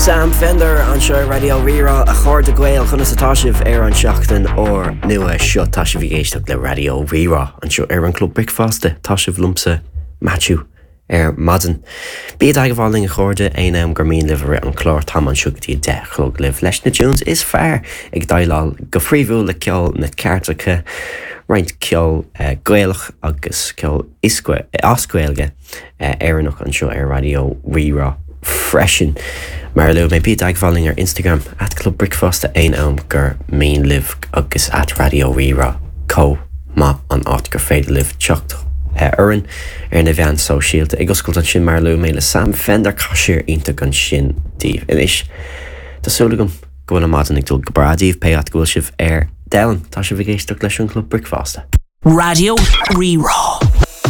Sam Fender anseo ar Raidió Rí-Rá, a chairde Gael, conas atá sibh ar an seachtain úr nua seo? Tá sibh ag éisteacht le Raidió Rí-Rá anseo ar an Club Bricfeasta. Tá sibh liomsa, Maitiú, ar maidin. Bí i dteagmháil linn a chairde, aon am gur mian libh i rith an chláir, táim anseo go dtí a 10 a chlog libh leis na tunes is fearr, ag déileáil go príomhúil le ceol na cairteacha, roinnt ceol Gaelach agus ceol as Gaeilge Éireannach anseo ar Raidió Rí-Rá freisin. Mar a luaigh mé, bí i dteagmháil linn ar Instagram, at Club Bricfeasta aon am gur mian libh agus at Raidió Rí-Rá chomh maith an áit gur féidir libh teacht orainn ar na mheáin sóisialta. Ag oscailt ansin mar a luaigh mé le Sam Fender, caisear iontach ansin daoibh. Anois, tá súil agam go bhfuil an maidin ag dul go breá daoibh pé áit go bhfuil sibh ar domhan. Tá sibh ag éisteacht leis an Chlub Bricfeasta. Raidió Rí-Rá.